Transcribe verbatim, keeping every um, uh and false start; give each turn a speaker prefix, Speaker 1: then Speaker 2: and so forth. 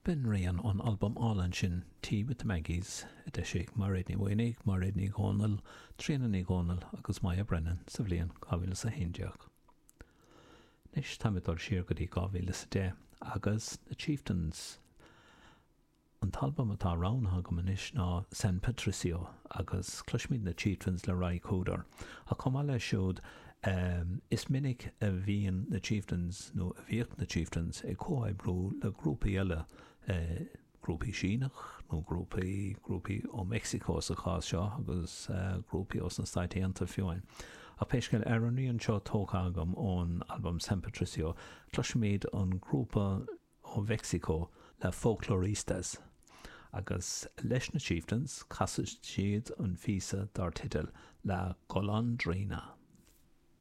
Speaker 1: B'in rian ón albam álainn sin Tea with the Maggies a d'eisigh Mairéad Ní Mhaonaigh, Mairéad Ní Dhomhnaill, Tríona Ní Dhomhnaill agus Moya Brennan sa bhliain dhá mhíle is a haon déag. Anois táim ag dul siar go dtí dhá mhíle is a deich agus na Chieftains. An t-albam atá roghnaithe agam anois ná San Patricio agus cloisfimid na Chieftains le Ry Cooder. Ach chomh maith leis siúd, is minic a bhíonn na Chieftains, nó a bhíodh na Chieftains, ag comhoibriú le grúpaí eile, grúpaí Síneach nó grúpaí, grúpaí ó Mheicsiceo sa chás seo agus grúpaí ós na Stáit Aontaithe fiú amháin. Ach pé scéal, ar an rian seo tógtha agam ón albam San Patricio, cloisfimid an grúpa ó Mheicsiceo La Folkloristas agus leis na Chieftains, casfaidh siad an phíosa dar teideal La Golondrina.